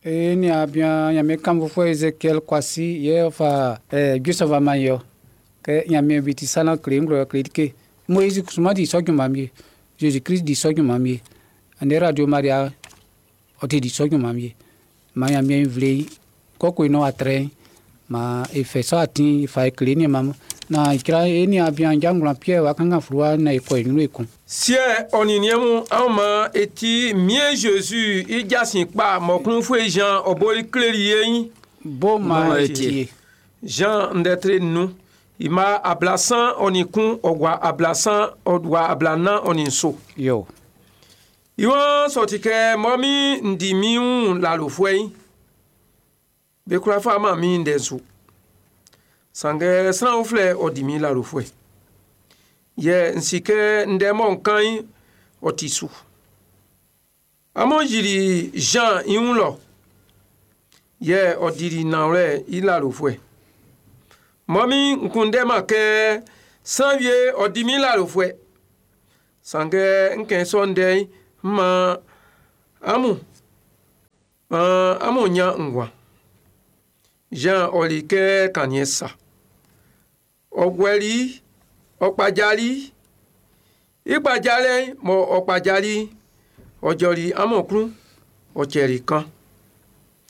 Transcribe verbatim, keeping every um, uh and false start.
E niaan bian Ɲanmiɛn kanfuɛ Ezekiel Kwasi yɛ ɔ fa eh, Joseph man ye kɛ Ɲanmiɛn bi ti salan kle nglo kle like Moïse kusuman di sɔ junman wie Jésus Christ di sɔ junman wie ane Radio Maria ɔ te di sɔ junman wie ma Ɲanmiɛn nvle kɔkɔ no atre ma e fɛ sɔ atin fa e kle ni ma na ikra e niaan bian Jangwlan Pierre wa kankan fluwa na e kɔ e ɲrun ekun. Siɛ ɔ nin niɛn mun an ma e ti mie Jésus i jasin kpa mɔkunfue Jean ɔ boli kleli ye Bo ma Ma e e tie. tie. Jean ndɛtre nu ima ablasan ɔ nin kun ɔ gua ablasan ɔ gua ablanan ɔ nin so. Yo. Iwọ́n sọ̀tì kɛ mɔ mi ndi mi ń lalofuɛ yi be kura fa ma mi ndɛ su sanngɛ sran filɛ ɔ di mi lalofuɛ yɛ nsi kɛ ndɛ mɔ nkan yi ɔ ti su amɔ yiri Jean i wun lɔ yɛ ɔ diri nawlɛ i lalofuɛ mɔ mi nkun ma kɛ sran wie ɔ di mi lalofuɛ sanngɛ nkɛ sɔ ndɛ yi ma amu uh, amu nya ngwa Jean ɔli kɛ kaniɛ sa ɔgbɛli ɔkpadzali ikpadzalɛ mɔ ɔkpadzali ɔdzɔli amɔklu ɔtsɛli kan.